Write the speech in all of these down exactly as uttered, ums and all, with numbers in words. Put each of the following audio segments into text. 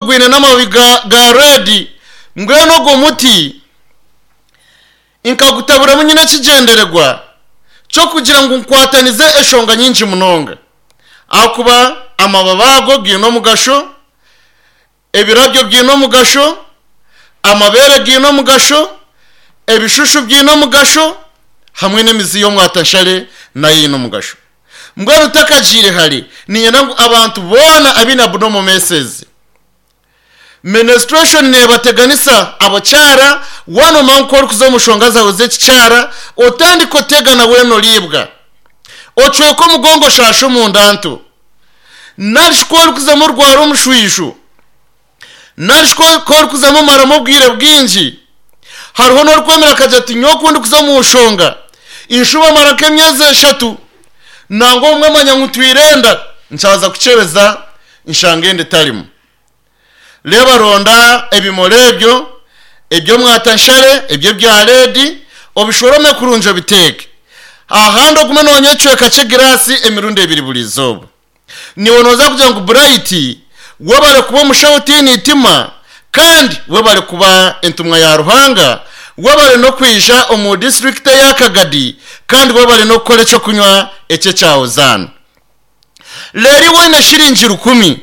Gwine n'amababi ga, ga red. Mbwenu ogwo muti nkagutaburamu nyine ekigyendererwa ky'okugira ngu nkwatanize eshonga nyingi munonga, ahakuba amababi ago gaine omugasho, ebirabyo biine omugasho, amabeere gaine omugasho, ebishushu biine omugasho, hamwe n'emizi y'omwatanshare nayo eine omugasho. Mbwenu ntakagiire hare, niinyenda ngu abantu boona abaine abnormal menses, menstruation neebateganisa abakyara, waaba noomanya ngu ku orikuza omu nshonga zaawe z'ekikyara otandika otegana weena oriibwa, ocweka omugongo, oshaasha omunda nto, narishi ku orikuzamu orwara omushwijo, narishi ku orikuzamu omaramu obwire bwingi. Hariho n'orikwemera akagira ati, "Nyowe ku ndikuza omu nshonga inshuba mara nk'emyezi eshatu, nangwa obumwe manya ngu ntwire enda, nkyaza kukyebeza nshanga enda etarimu." Reeba, ronda ebimuri ebyo eby'omwatanshare, ebyo ebya red, obishorome kurungi, obiteeke ahandi, ogume noonywa ekicweka ky'egiraasi emirundi ebiri buri izooba. Niiwe nooza kugira ngu, "Bright, webare kuba omushaho otiine itima, kandi webare kuba entumwa ya Ruhanga, webare n'okwija omu disiturikiti eya Kagadi, kandi webare n'okukora ekyokunywa eky'ekya Hozaana." Reero iwe oine shiringi rukumi,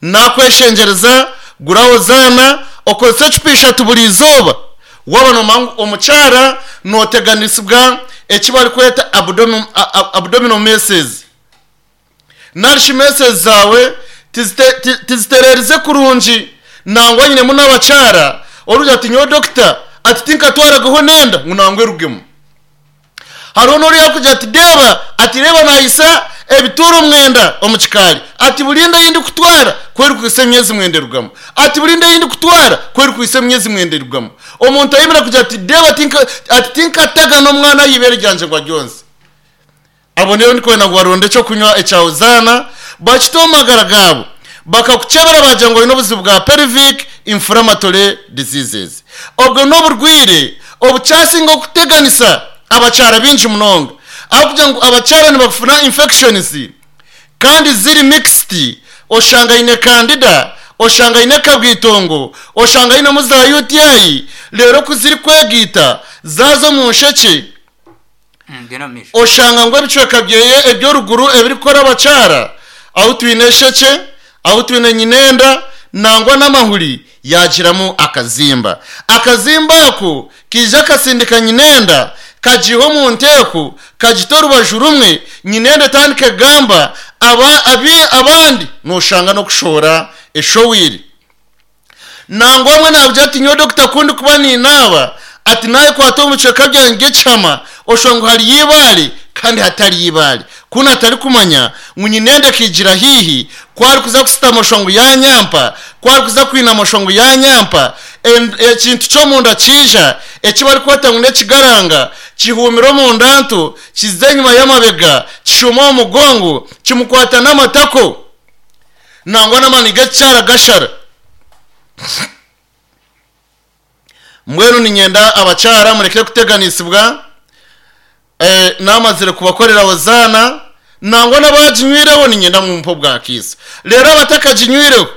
nakweshengyereza gura Hozaana, okozese ecupa ishatu buri izooba. Waaba noomanya ngu omukyara nooteganisibwa eki barikweta abdominal menses, narishi menses zaawe tizitereerize kurungi. Nangwa nyinemu n'abakyara orikugira ati, "Nyowe dokita, ati tinkatwaragaho n'enda ngu nangwa erugemu." Hariho n'oriya arikugira ati, "Deeba," ati, "reeba naayisa ebituuro mwenda omu kikaari," ati, "buri nda ei ndikutwara ku erikuhisa emyezi mwenda erugamu," ati, "buri nda ei ndikutwara ku erikuhisa emyezi mwenda erugamu." Omuntu ayemera kugira ati, "Deeba," ati, "tinkataga n'omwana aha ibeere ryangye ngu aryonse." Abo nibo ndikwenda ngu baronde ekyokunywa ekya Hozaana, bakite omu magara gaabo. Bakakukyebera bagira ngu oine obuzibu bwa pelvic inflammatory diseases. Obwo n'oburwaire obukyasinga okuteganisa abakyara baingi munonga, ahabw'okugira ngu abakyara nibafuna infections kandi ziri mixed. Oshanga aine candida, oshanga aine kabwitongo, oshanga ainemu za U T I. Reero ku zirikwegaita zaaza omu nshekye, Genda omu maisho. Oshanga ngu ebicweka byeye eby'oruguru ebirikukora abakyara, ahu twine eshekye, ahu twine nyinenda, nangwa n'amahuri, yagiramu akazimba. Akazimba ako kaija kasindika nyinenda, kagiha omu nteeko, kagita orubaju rumwe, nyinenda etandika egamba aba, abi, abandi noshanga n'okushohora eshowiri. Nangwa omwe nakugira ati, "Nyowe dokita, ku ndikuba ninaaba," ati, "nayekwata omu bicweka byange by'ekihama, oshanga ngu hariyo ibaare kandi hatariyo ibaare." Kunu atarikumanya ngu nyinenda ekigira haihi, ku arikuza kusitama oshanga ngu yanyampa, ku arikuza kwinama oshanga ngu yanyampa. En- ekintu ky'omunda kiija eki barikweta ngu n'ekigaranga, kihuumira omunda nto, kiza enyuma y'amabega, kishuuma omu mugongo, kimukwata n'amatako, nangwa n'amaani g'ekikyara gashara. Mbwenu ninyenda abakyara mureke kuteganisibwa. eh, namazire kubakorera Hozaana, nangwa n'abaginywireho ninyenda mumpe obwakiisa. Rero abatakaginywireho,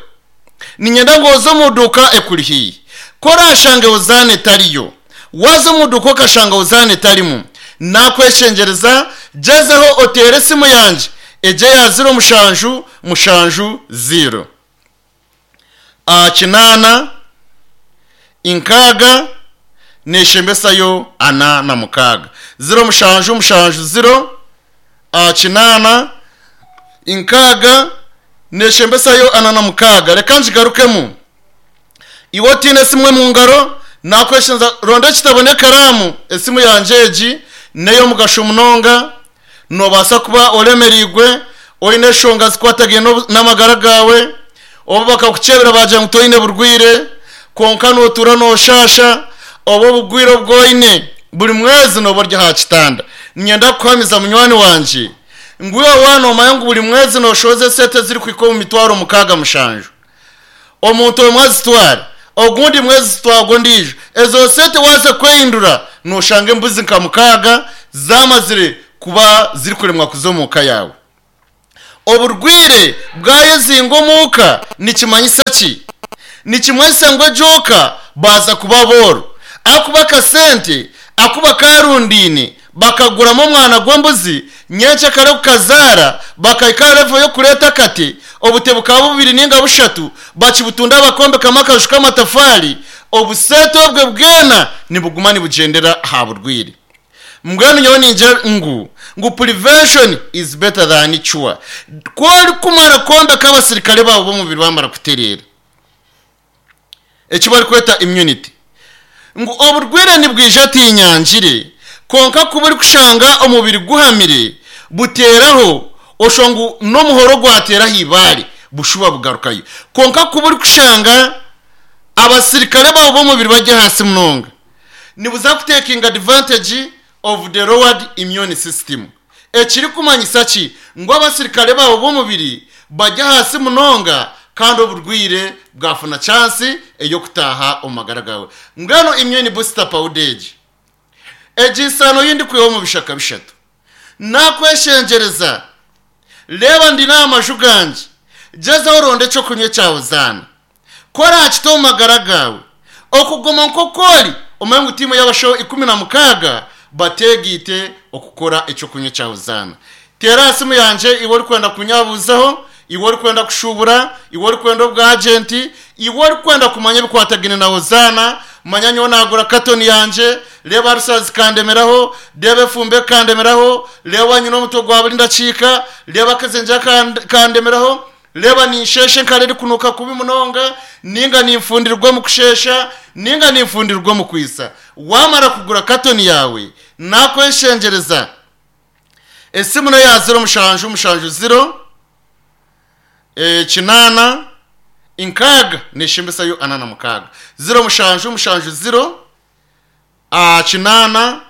ninyenda ngu oze omu duuka ekuri haihi, ko orashange Hozaana etariyo. Waza omu duuka okashanga Hozaana etarimu, nakweshengyereza gyezeho oteere esimu yangye egye ya ziro mushanju mushanju ziro aha kinaana nkaaga neshembesayo ana na mukaaga, ziro mushanju mushanju ziro aha kinaana nkaaga neshembesayo ana na mukaaga. Reka ngigarukemu. Iwe otiine esimu mu ngaro, nakweshenza ronda ekitabo n'ekaraamu. Esimu yangye egi n'ey'omugasho munonga. Noobaasa kuba oremereirwe, oine eshonga zikwatagaine n'obu- n'amagara gaawe, oba bakakukyebera bagira ngu toine burwire, konka nootuura nooshasha, oba obugwire obwoine buri mwezi nooba ori aha kitanda. Niinyenda kukuhamiza, munywani wangye, ngu iwe waanoomanya ngu buri mwezi nooshohoza esente ezirikuhika omu mitwaro mukaaga mushanju, omuntu omwe azitwara, ogundi mwezi zitwarwa ondiijo, ezo sente waza kwehindura nooshanga embuzi nka mukaaga zamazire kuba zirikuremwa kuza omu ka yaawe. Oburwire bwayezinga omuuka nikimanyisa ki? Nikimanyisa ngu egyoka baza kuba booro, akuba akasente akuba karundiine bakaguramu omwana gw'embuzi, nyenkya kare kukazaara bakahika level y'okureeta akate, obute bukaba bubiri ninga bushatu, bakibutunda bakombekamu akaju k'amatafaari, obusente obwe bwena nibuguma nibugyendera aha burwire. Mbwenu nyowe ningira ngu ngu prevention is better than cure. Ku orikumara kwombeka abasirikare baabo b'omubiri bamara kutereera, eki barikweta immunity, ngu oburwire nibwija tinyangire, konka kuba orikushanga omubiri guhamire buteeraho, osho ngu n'omuhoro gwateeraho ibaare bushuba bugarukayo. Konka kuba orikushanga abasirikare baabo b'omubiri bari ahansi munonga, nibuza kutekinga advantage of the lowered immune system. Ekirikumanyisa ki? Ngu abasirikare baabo b'omubiri bari ahansi munonga kandi oburwire bwafuna chance ey'okutaaha omu magara gawe. Mbwenu immune booster powder egi, egi nsano yindi kwiha omu bishaka bishatu. Nakweshengyereza, reeba ndi n'amaju gangye, gyezaho oronde ekyokunywa ekyawe zaana. Ku orakita omu magara gawe, okuguma nk'oku ori, omanye ngu tiimu y'abashaho ikumi na mukaaga bateegiite okukora ekyokunywa ekyawe zaana. Teera aha simu yangye iwe orikwenda kunyabuuzaho, iwe orikwenda kushubura, iwe orikwenda obwagenti, iwe orikwenda kumanya ebikwatagine na Hozaana, manya nyowe nagura katoni yangye, reeba arusazi kandemeraho, reeba efumbe kandemeraho, reeba nyine omutwe gwa buri ndakiika, reeba akazengyera kandemeraho, reeba ninshesha enkara erikunuuka kubi munonga, ninga ninfundirwa omu kushesha, ninga ninfundirwa omu kwisa. Wamara kugura katoni yawe, nakweshengyereza, esimu neya ziro mushanju mushanju ziro e, kinaana nkaaga neshembesayo ana na mukaaga. Ziro mushanju mushanju ziro a, kinaana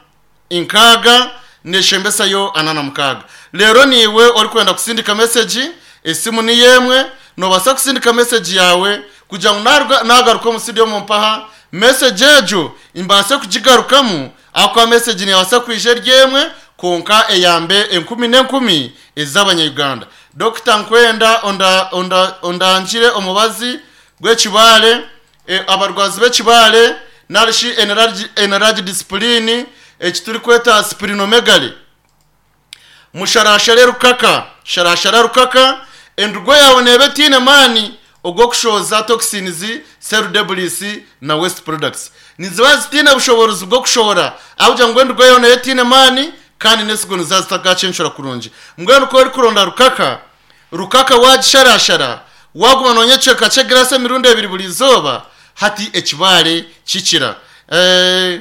nkaaga neshembesayo ana na mukaaga. Rero niiwe orikwenda kusindika message, esimu niyo emwe, nobaasa kusindika message yawe kugira ngu nagaruka omu studio omu mpaha, message egyo mbaase kugigarukamu, ahakuba message nebaasa kwija eri emwe konka eyambe enkumi n'enkumi ez'abanyayuganda. Dokita nkwenda onda, onda, ondangire omubazi gw'ekibaare, e, abarwazi b'ekibaare narishi enlarged spleen, eki turikweta splenomegaly. Musharashare rukaka, sharashara rukaka, endugo yawe neeba etiine maani ogw'okushohoza toxins, cell debris na waste products. Niziba zitiine bushoboorozi bw'okushohora, ahakugira ngu endugo yawe neeba etiine maani kandi n'esigo niziba zitakacenshura kurungi. Mbwenu ku orikuronda rukaka, rukaka wagisharashara, waguma noonywa ekicweka ky'egirasi emirundi ebiri buri izooba, hati ekibaare kikira. Eh,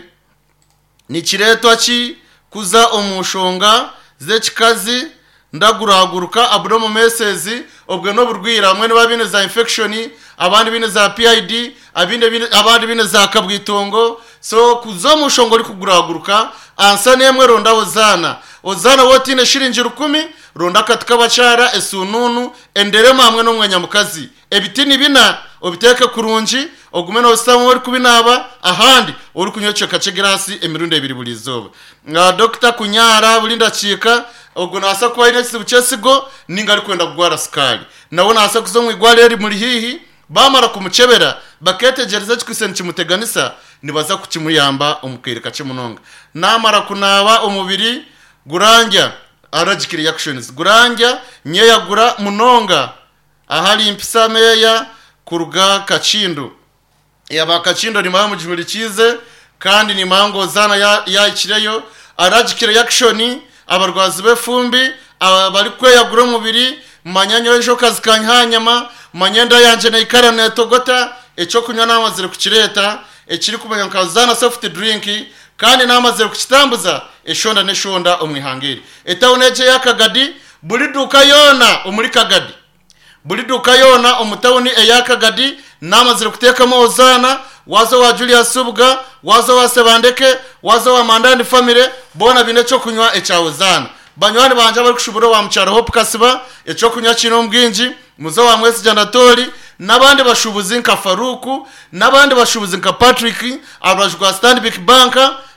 nikireetwa ki kuza omu nshonga z'ekikazi ndaguraguruka abdominal masses? Obwe n'oburwire, hamwe niba biine za infection, abandi biine za P I D, abindi biine, abandi biine za kabwitongo. So kuza omu nshonga orikuguraguruka, ansa n'emwe ronda Hozaana. Hozaana wotiine shiringi rukumi, ronda akati k'abakyara, esununu, enderema hamwe n'omwenya mukazi. Ebiti ni bina, obiteeke kurungi, ogume noositamu orikubinaaba, ahandi orikunywa ekicweka ky'egirasi emirundi ebiri buri izooba. Nga dokita kunyara buri ndakiika, ogwo naasa kuba aine ekizibu ky'esigo ninga arikwenda kugwara sukaari. Nawe naasa kuza omu igwariro erimuri haihi, bamara kumukyebera, baketegereza ekikwitse nikimuteganisa, nibaza kukimuyamba omu kaire kakye munonga. Namara kunaaba omubiri gurangya, allergic reactions, gurangya nyeyagura munonga, ahari mpisa meya kuruga Kakindo. Yaba Kakindo nimara mugihurikize kandi nimara ngu Hozaana yahikireyo. Allergic reaction, abarwazi b'efumbi, abari kweyagura omubiri, manya nyowe enjoka zikanyiha nyama, manya enda yangye neikara netogota, ekyokunywa namazire kukireeta, ekirikumanya nka Hozaana soft drink, kandi namazire kukitambuza eshonda n'eshonda omu ihanga eri. Etawuni egyo eya Kagadi, buri duuka yoona omuri Kagadi, buri duuka yoona omu tawuni eya Kagadi namazire kuteekamu Hozaana. Waza owa Julius Subuga, waza owa Sebandeke, waza owa Mandandi family, boona biine ekyokunywa ekya Hozaana. Banywani bangye abarikushubura owa Mukyaro Hope Kasiba, ekyokunywa kiine omu bwingi, muze owa Mwesigye Anatoli, n'abandi bashubuzi nka Faruku, n'abandi bashubuzi nka Patrick, aha rubaju rwa Stanbic Bank,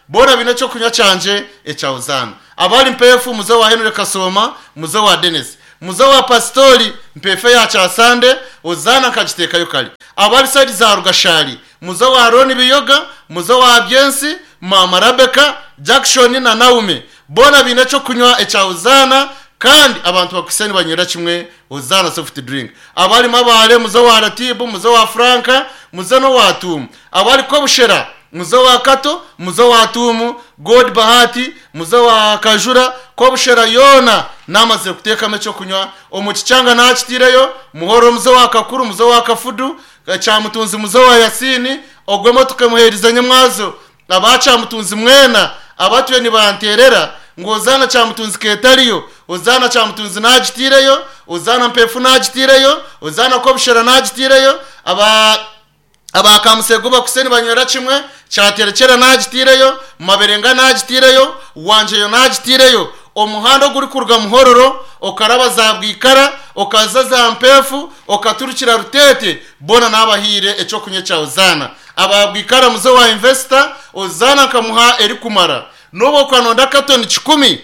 boona biine ekyokunywa kyangye ekya Hozaana. Abari Mpeefu, muze owa Henry Kasoma, muze owa Dennis. Muze wa pastori mpefe ya kyasande, Ozana nkagiteekayo kare. Abari saidi za Rugashari, muze wa Roni Biyoga, muze wa Byensi, Mama Rebecca, Jackson na Naume, bona biine ekyokunywa ekya Ozana, kandi abantu bakuseni banywera kimwe Ozana soft drink. Abari Mabare, muze wa Ratibu, muze wa Franka, muze no wa Tumu. Abari Kobushera, muze wa Kato, muze wa Tumu, God Bahati, muze wa Kajura, Kobushera yona namaze kutekamo ecyo kunywa. Omukicyanga nakitireyo muhoro, muze wa Kakuru, muze wa Kafudu, Cyamutunzi, muze wa Yasini, ogwemo tukamuhereza nyamwazo. Abacamutunzi mwena abatuye nibanterera ngo Ozana Cyamutunzi ketariyo, Ozana Cyamutunzi nagitireyo, Ozana Mpefu nagitireyo, Ozana Kobushera nagitireyo. Aba abakamusego bakuseni banywera kimwe, Cyaterekera nagitireyo, Maberenga nagitireyo, Wanjeyo nagitireyo. Omuhanda guri kuruga Muhororo okaraba za Bwikara, okaza za Mpefu, okaturukira Rutete, bona nabahire ecyo kunywa cya Ozana. Ababwikara muze wa investor, Ozana nkamuha eri kumara nobo kwanonda katoni kikumi,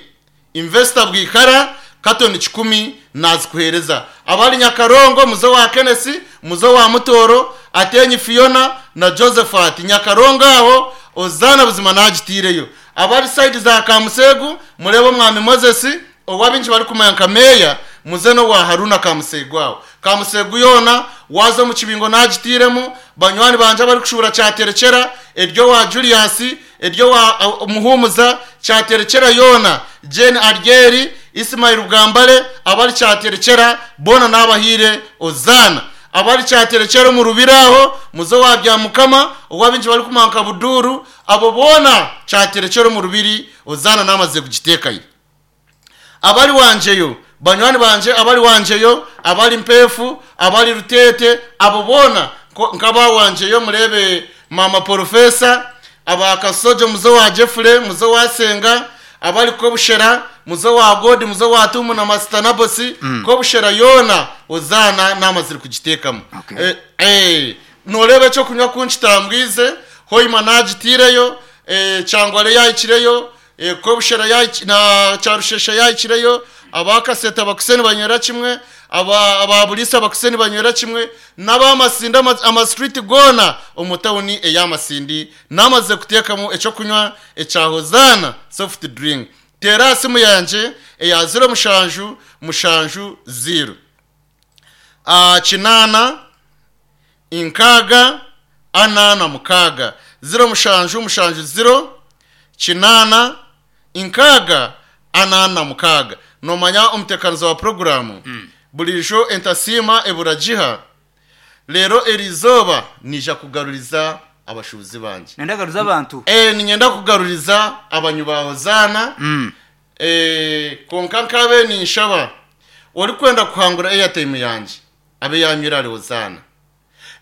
investor Bwikara katoni kikumi nazikuhereza. Abari Nyakarongo, muze wa Kenesi, muze wa Mutoro, Atenyi Fiona na Josephat Nyakarongo, aho Ozana buzima nagitireyo. Abari side za Kamusegu, murebo mwami Moses owabinji bari kumanya nka meya, muze no wa Haruna Kamusegu. Aho Kamusegu yona waza mu kibingo nagitiremu. Banywani banje bari kushubura Cyaterekera, eryo wa Julius, eryo wa uh, Muhumuza, Cyaterekera yona Jane Argeri, Ismail Rugambare, abari Cyaterekera bona nabahire Ozana. Abari Cyaterekera mu rubiraho, muze wa Byamukama owabinji bari kumanka Buduru, abo bona Cyaterekera mu rubiri Ozana namaze kugitekayo. Abari wanjeyo banywani banje, abari wanjeyo, abari Mpefu, abari Rutete, abo bona nkaba wanjeyo. Murebe mama profesa, abakasojo muze wa Jeffrey, muze wa Senga, abari Kobushera, muze wa God, muze wa Tumu na Master Nabosi, mm. Kobushera yona Ozana namaziri kugitekamo. Okay. Eh, eh, norebe cyo kunywa kunchitambwize hoima nagitireyo, eh, cyangware yayikireyo, eh, Kobushera yayi na Cyarushesha yayikireyo. Abakaseta bakuseni banywera kimwe, aba ababulisa bakuseni banywera kimwe, n'abamasinda ama, ama street gona omutawuni eyamasindi namaze kutekamo ecyo kunywa ecya Hozana soft drink. Tera simu yanje eya zero mushanju mushanju zero a kinana inkaga anana mukaga, zero mushanju mushanju zero kinana inkaga anana mukaga. Nomanya umutekanizo wa programu mm. Bulijo entasima eburajiha lero erizoba nija kugaruriza abashubuzi banje. Nendagaruza abantu. Eh, ninyenda kugaruriza abanyu ba Hozana. Mm. Eh, konka nkabe ninshaba ori kwenda kuhangura airtime yanje abe yanyura ari Hozana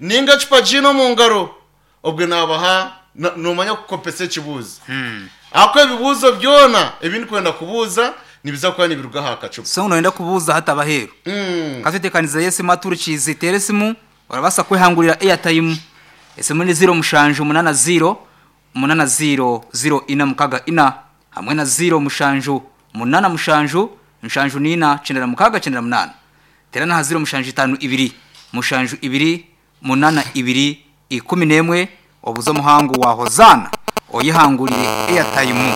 ninga chupa jino mu ngaro, obwe nabaha nomanya kukopesa ekibuzo. Mm. Ako ebibuzo byona ebindi kwenda kubuza nibiza kuba nibiruga hakacupa. So unoenda kubuza hata baheru. Mm. Katetekaniza yesi maturu chizitere simu orabasa kwehangurira airtime. Esimu ni zero mushanju munana zero munana zero zero ina mukaga ina hamwe na zero mushanju munana mushanju mushanju nina cendera mukaga cendera munana. Terana ha zero mushanju itanu ibiri mushanju ibiri munana ibiri ikumi nemwe obuzo muhangu wa Hozana oyihangurire airtime.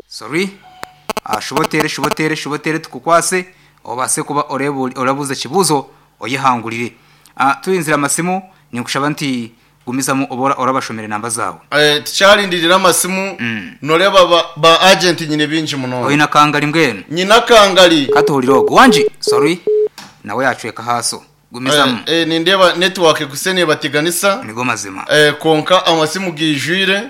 Sorry. Ah, shubotere shubotere shubotere tukukwase obase kuba orebu orabuze kibuzo oyihangurire. Ah, tuinzira amasimu nikushaba nti gumizamu obora orabashomere namba zawe. Eh, tucyarindirira amasimu. Mm. Noreba ba, ba agent nyine binji muno. Oyina kangali mbwenu. Nyina kangali. Katuhurira ogo wanji. Sorry. Nawe yacweka haso. Gumizamu. Eh, eh, nindeba network kusene batiganisa. Nigo mazima. Eh, konka amasimu gijwire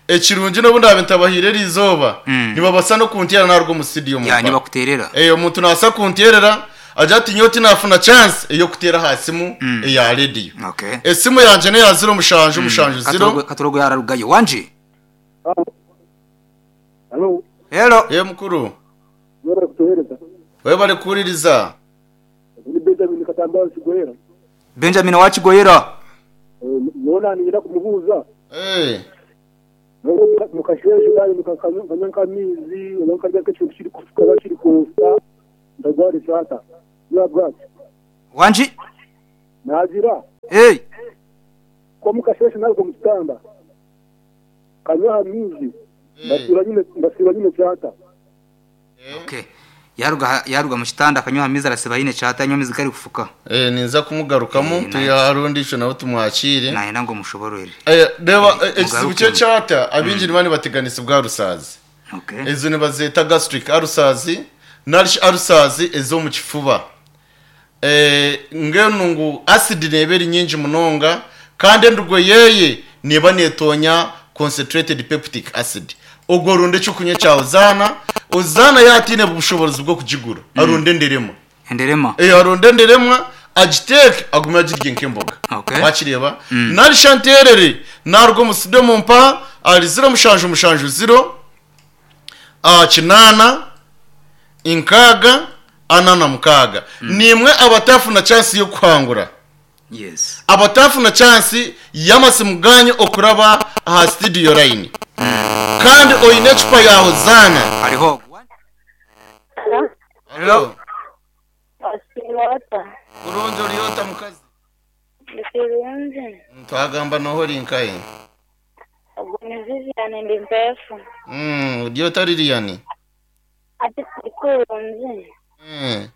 ekirungi n'obundi abentabahire rizoba. Mm. Nibabasa no kuntera narwo mu studio mu. Ya nibakuterera. Eh, omuntu nasa kuntierera aja ati nyoti nafuna chance eyo kutera hasimu Mm. eya radio. Okay. Esimu yanje ne ya zero mushanju mushanju zero. Katorogo katorogo yararugayo wanji. Halo, Hello. Ye mukuru. mwebale kutuhereza. Wewe bari kuririza. Ni Benjamin Katamba Kigoyera. Benjamin wa Kigoyera. Yona ningira kumubuuza. Eh. Mukasheshe kandi mukakanya nk'amizi, nkarya nk'ikintu kiri kufuka kiri kusa. Ndagwara kyata. Ya bwaki. Wanji? Nagira. Hey. Ko mukasheshe narwo mu kitanda. Kanywa hamizi. Ndasira nyine ndasira nyine kyata. Okay. Yaruga yaruga mu kitanda akanywa hamizi arasiba yine kyata anywa amizi kari kufuka. Eh ninza kumugarukamu Eh, tuyarundi ico nawe tumwakire. Nahenda ngo mushoborere. Eh reba eh, ekizibu mugaruke. cye cyata abinjiri bani bateganisa bwa rusazi. Okay. Ezo nibazeta gastric ulcers narish ulcers ezo mu kifuba. Eh ngeno ngu acid neberi nyingi munonga kandi endugo yeye niba netonya concentrated peptic acid. Ogwo runde cyo cya uzana uzana yatine ubushobozi bwo kugigura arunde nderema. Enderema. Eh arunde nderemwa agiteke agume agirye nk'imboga. Okay. Wakireba nari shanterere narwo muside mumpa ari zero mushanju mushanju zero a kinana inkaga anana mukaga nimwe abatafuna chance yo kwangura Yes. abatafuna chance y'amasimuganyo okuraba aha studio line kandi oyine ecupa yawe zana Hariho. Hello. Osirota. Kurungi oriyota mukazi Ndikirungi. twagamba noho rinkaye Ubwo ni Vivian ndi mpefu. mm uriyota liliani Ati ndikurungi. mm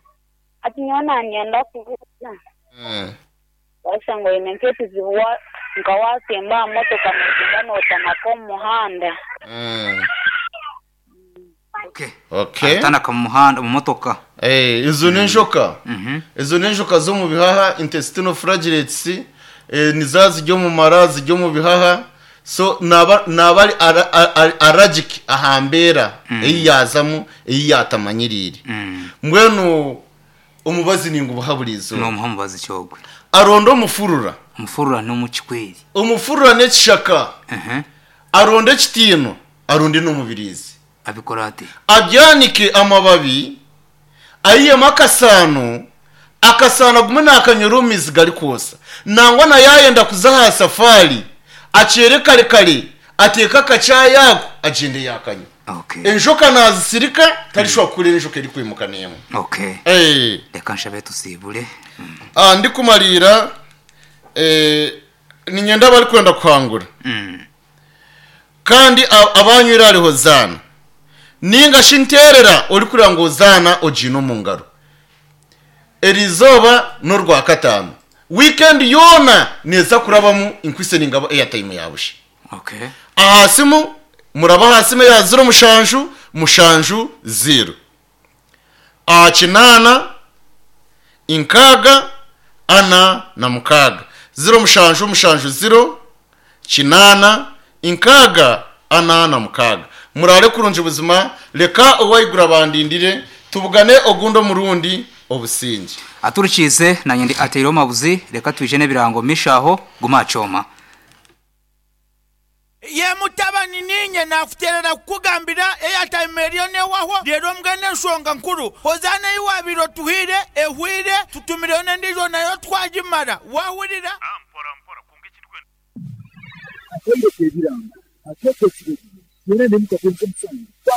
Ati nyona ngenda kuvuga. mm Basa ngo ine nk'ekizibu wa nka wasimba aha motoka nogiza notamaka omu muhanda. mm Okay. okay Atanaka mu muhanda mu motoka. eh izo ni injoka Mhm. izo ni injoka zo mu bihaha intestinal flagellates eh, ni za zijya mu mara zijya mu bihaha so naba naba ari ara- ara- allergic ahambera iyi yazamo iyi yatamanyirire Mm. mbwenu omubazi ninga ubuhaburizo No muhamubazi cyogwe. aronda omufurura Umufurura no mu kikweri. omufurura n'ekishaka Mhm. aronda ekitiino aronde n'omubirizi Abikora ate? abyanike amababi ayiyemu akasano akasano agume nakanyura omu mizi gari kwosa nangwa naye ayenda kuza aha safari akyere kare kare ateeke akacaayi ako agyende yakanywa Okay. enjoka nazisirika tarishobora kukurira enjoka erikwimuka n'emwe Okay. Eh, Reka nshabe tusibule. Mm. ah, ndikumariira eh, ninyenda abarikwenda kuhangura Mm. kandi a- abanywire hariho zaana ninga shinterera orikurira ngu ozaana ogiine omu ngaro erizooba n'orwa kataano weekend yoona neeza kurabamu inkwise ningaba airtime yabushe Okay. aha simu muraba aha simu ya zero mushanju mushanju zero aha kinana inkaga ana na mukaga zero mushanju mushanju zero kinana inkaga ana na mukaga murare kurungi ubuzima reka uwayigura bandindire tubugane ogundo murundi obusinge Aturukize na nyendi ateiro mabuzi reka twije n'ebirango mishaho gumacoma. Ye mutabani ninye nakuterera kukugambira airtime eriyo newaho rero mbwene enshonga nkuru ozana iwabiro tuhire ehwire tutumireyo n'endijo nayo twagimara wahurira Atendeke ebiranga. Atendeke ekirego. Yena ne mukatenze musango.